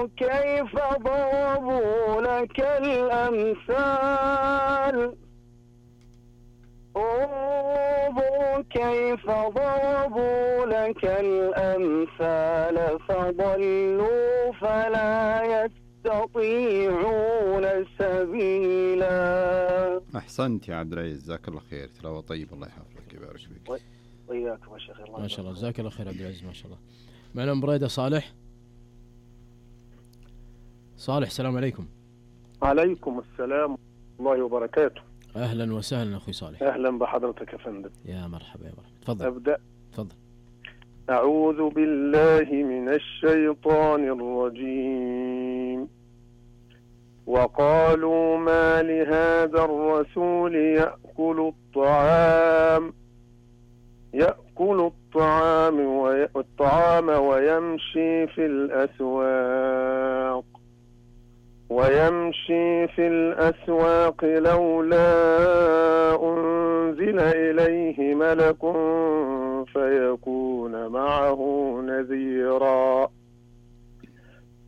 كيف ضربوا لك الأمثال انظر كيف ضربوا لك الأمثال فضلوا فلا يستطيعون سبيلا. أحسنت يا عبد العزيز، جزاك الله خير، تلاوة طيب، الله يحفظك ويبارك فيك. وإياكم يا شيخ. ما شاء الله، جزاك الله خير عبد العزيز، ما شاء الله. معنا أم بريدة صالح. صالح، السلام عليكم. عليكم السلام ورحمة الله وبركاته. أهلا وسهلا أخوي صالح. أهلا بحضرتك يا فندم. يا مرحبا يا مرحبا، تفضل. أبدأ. تفضل. أعوذ بالله من الشيطان الرجيم. وقالوا ما لهذا الرسول يأكل الطعام ويمشي في الأسواق لولا أنزل إليه ملك فيكون معه نذيرا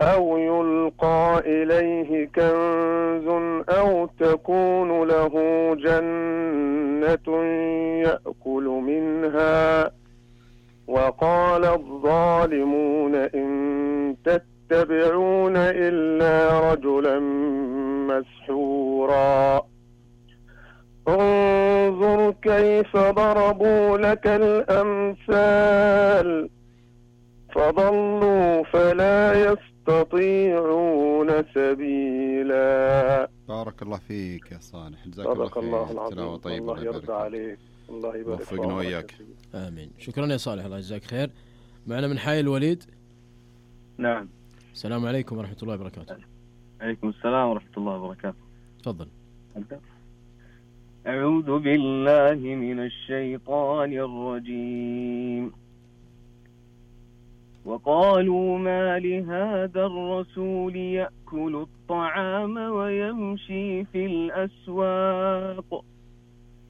أو يلقى إليه كنز أو تكون له جنة يأكل منها. وقال الظالمون إن تتبعون إلا رجلا مسحورا انظر كيف ضربوا لك الأمثال فضلوا فلا يستطيعون سبيلا. بارك الله فيك يا صالح، جزاك الله الله خير، تلاوة طيبة، الله يرضى عليك، الله يبارك فيك وفقنا وإياك. آمين. شكرا يا صالح، الله يجزاك خير. معنا من حي الوليد. نعم. السلام عليكم ورحمة الله وبركاته. عليكم السلام ورحمة الله وبركاته. تفضل. أعوذ بالله من الشيطان الرجيم. وقالوا ما لهذا الرسول يأكل الطعام ويمشي في الأسواق